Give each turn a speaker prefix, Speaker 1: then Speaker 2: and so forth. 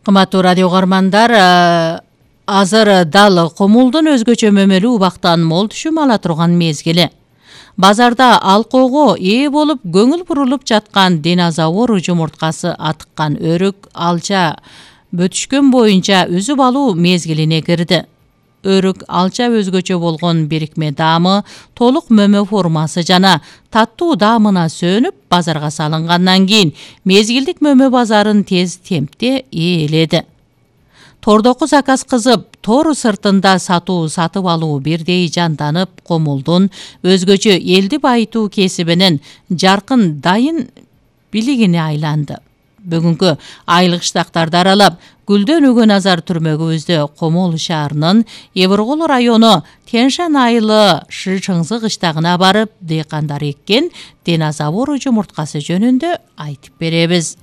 Speaker 1: Кымбаттуу радио угармандар, азыр дал комулдун өзгөчө мөмөлүү убактан мол түшүм ала турган мезгили. Базарда алкоого ээ болуп көңүл бурулуп жаткан динозавр жумурткасы атыккан өрүк алча бөтүшкөн боюнча үзүп алуу мезгилине кирди. Өрүк алча өзгөчө болгон бирикме даамы, толук мөмө формасы жана таттуу даамына сөнүп базарга салынгандан кийин мезгилдик мөмө базарын тез темпте ээледи. Тордоку заказ кызып, тор сыртында сатып алуу бирдей жанданып, комулдун өзгөчө элди байытуу кесибинин жаркын дайын билигине айланды. Бүгүнкү айлык штактарды аралап, Гүлдөн Назар түрмөгүбүздө Комол шаарынын Эбургул району Теншан айылы Шычыңзы кыштагына барып, дыйкандар эккен динозавр жумурткасы жөнүндө айтып беребиз.